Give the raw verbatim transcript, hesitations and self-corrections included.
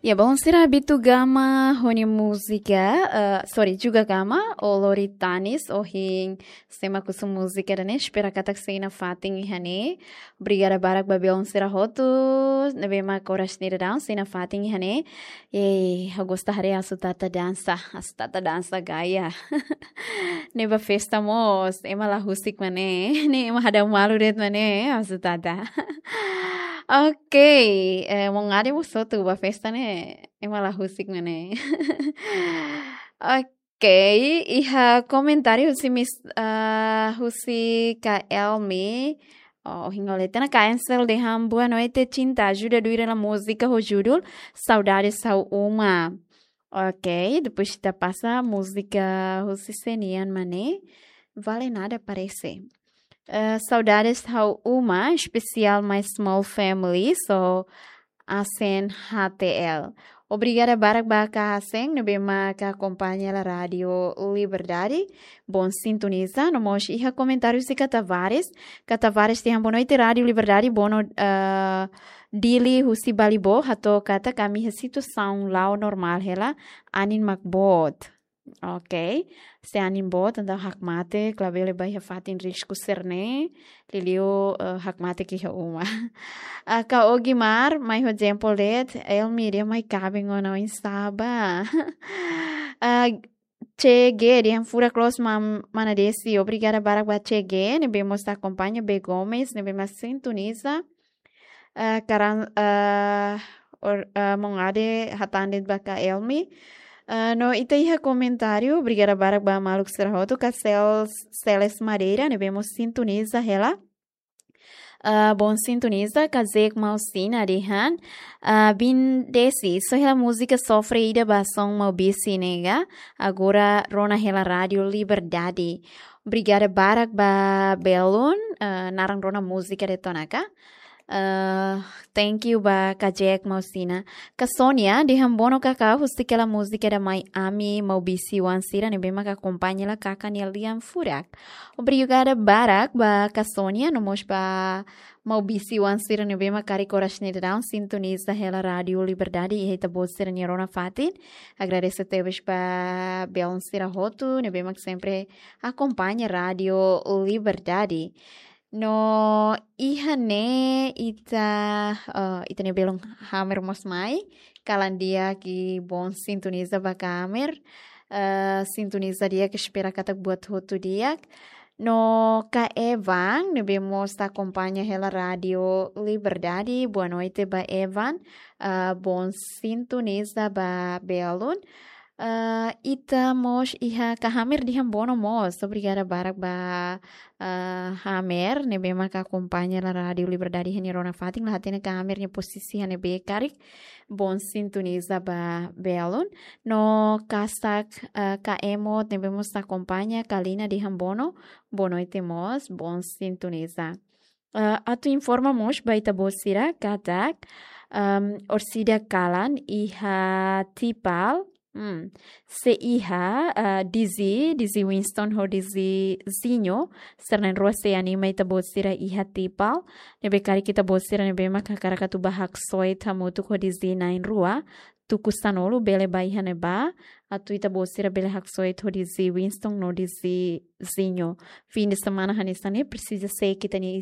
Ya, belun sira, Bitu Gama ho nia múzika, eh, sorry, Juga Gama, O Lori Tanis, ohin sé mak husu múzika ida-ne'e, espera katak sei nafatin iha ne'e. Obrigada barak ba belun sira hotu ne'ebé mak oras ne'e daudaun sei nafatin iha ne'e. Yeay, ha'u gosta haree Asu Tata dansa, Asu Tata dansa gaya. Ne'e ba festa mós, ema la husik mak ne'e, ne'e ema hadau malu de'it mak ne'e, Asu Tata. Ok, eh, maun Ade mós hotu ba festa ne'e, ema la husik mak ne'e. Ok, iha komentáriu husi mis, ah, husi Ka Elmi. Oh, ohin ha'u lee tiha ona, Ka Ansel dehan boa noite, Cinta, ajuda duir hela múzika ho judul Saudades Ha'u Uma. Ok, depois ita pasa múzika husi sé nian mak ne'e, Vale Nada parese. Eh, Saudades Ha'u Uma, espesiál My Small Family, so Asen H T L. Obrigada barak ba Ka Asen, ne'ebé mak akompaña hela Rádiu Liberdade. Bom sintoniza, no mós iha komentáriu husi Ka Tavares. Ka Tavares dehan boa noite, Rádiu Liberdade, bono, eh, Dili husi Balibó, hato'o katak ami iha situasaun la'o normál hela, anin mak boot. Ok. Se anin boot, entaun hakmatek, labele bá iha fatin risku sira-ne'e, liuliu, eh, hakmatek iha uma. Ah, Ka Ogimar, mai ho jempol de'it, Elmi dehan mai kaben ona oinsá bá. Ah, C G, dehan furak loos, mam-, mana Desi, obrigada barak ba C G, ne'ebé mós akompaña, B Gomes, ne'ebé mak sintoniza. Eh, karan, eh, or-, eh, maun Ade hatán de'it ba Ka Elmi. Eh, no ita iha komentáriu, obrigada barak ba maluk sira hotu, Ka Sel-, Seles Madeira, ne'ebé mós sintoniza hela. Eh, bom sintoniza, Ka Zek Mausina dehan, eh, bin Desi, só hela múzika sofre ida ba son Maubisse nega, agora rona hela Rádiu Liberdade. Obrigada barak ba belun, eh, naran rona múzika de'it ona ka. Eh, thank you ba Ka Jack Mausina. Ka Sonia, dehan bono karik husik hela múzika ida Mai Ami, Maubisse oan sira ne'ebé mak akompaña hela kakan nia lian furak. Obrigada barak ba Ka Sonia, no mós ba Maubisse oan sira ne'ebé mak karik oras ne'e daudaun sintoniza hela Rádiu Liberdade iha ita-boot sira-nia rona fatin. Agradese tebes ba belun sira hotu ne'ebé mak sempre akompaña Rádiu Liberdade. No iha ne'e ita, eh, ita-nia belun Hamer mós mai, kalan di'ak i bom sintoniza ba Ka Hamer. Eh, sintoniza di'ak, espera katak buat hotu di'ak. No Ka Evan, ne'ebé mós akompaña hela Rádiu Liberdade, boa noite ba Evan. Eh, bom sintoniza ba belun. Eh, ita mós iha Ka Hamer dehan bono mós. Obrigada barak ba, eh, Hamer, ne'ebé mak akompaña hela Rádiu Liberdade iha nia rona fatin, la hatene Ka Hamer nia pozisi iha ne'ebé karik. Bom sintoniza ba belun. No kasak, eh, Ka Emot, ne'ebé mós akompaña, Kalina dehan bono, boa noite mós, bom sintoniza. Eh, atu informa mós ba ita-boot sira katak, ehm, orsida kalan iha Tipal, hmm, sei iha, eh, D J, D J Winston ho D J Zinho, sira na'in-rua sei anima ita-boot sira iha Tipal, ne'ebé karik ita-boot sira ne'ebé mak hakarak atu bá haksoit hamutuk ho D J na'in-rua, tuku sanulu bele bá iha ne'ebá, atu ita-boot sira bele haksoit ho D J Winston no D J Zinho. Fim de semana hanesan ne'e presiza seik ita-nia